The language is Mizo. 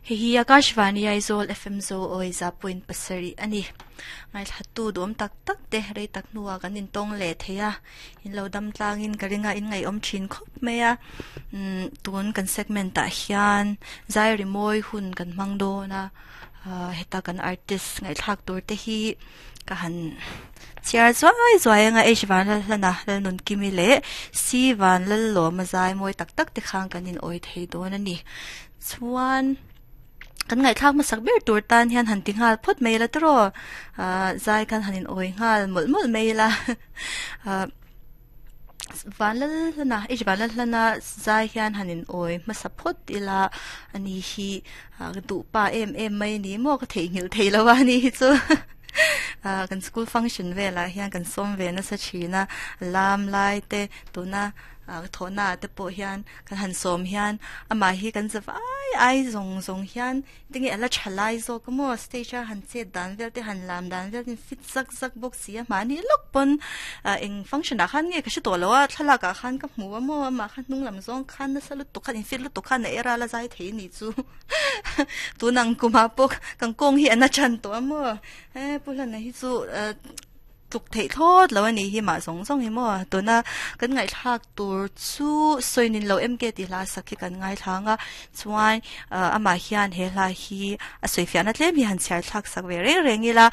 Hei hi Akashvani Aizawl FM Zo awi za point pasarih a ni. Ngaithla tu duhawm tak tak te rei tak hnuah kan intawng leh thei a, in lo dam tlangin ka ring a, in ngaihawm thin khawp mai a. Umm tun kan segment ah hian zai rimawi hun kan hmang dawn a, heta kan artist ngaihthlak tur te hi ka han chhiar zuai zuai anga H Vanlalhlana Lalnunkimi leh C Vanlallawma zai mawi tak tak te khan kan in awi thei dawn a ni. Chuan kan ngaihthlak hmasak ber tur tan hian han ti nghal phawt mai ila tawh ah zai khan han in awi nghal mawlh mawlh mai ila ah Vanlalhlana H Vanlalhlana zai hian han in awi hmasa phawt ila ani hi ah ka duh pa em em mai a ni maw ka theihnghilh thei lo a ni hi chu ah kan school function velah hian kan sawm ve nasa thin a lam lai te tuna ah thawhna ah te pawh hian kan han sawm hian amah hi kan za vai ai zawng zawng hian tinge a la tha lai zawk a maw stage a han chet dan vel te han lam dan vel te fit zak zak bawk si a mahni lawk pawn ah eng function ah khan nge ka hre tawh lo a thlalak ah khan ka hmu a maw amah kha hnung lam zawng khan nasa lutuk khan in fit lutuk khan a era la zai thei a nih chu tun ang kum ah pawh kan kawng hi a na than tawh a maw he pu hlana hi chu ah Tluk theih thlawt lo a nih hi mah zawng zawng hi maw? Tuna kan ngaihthlak tur chu Sawinin lo MK tih hla sak hi kan ngaithlang a, chuan amah hian he hla hi a sawifiahna tlem hi han chhiar thlak sak ve reng reng ila.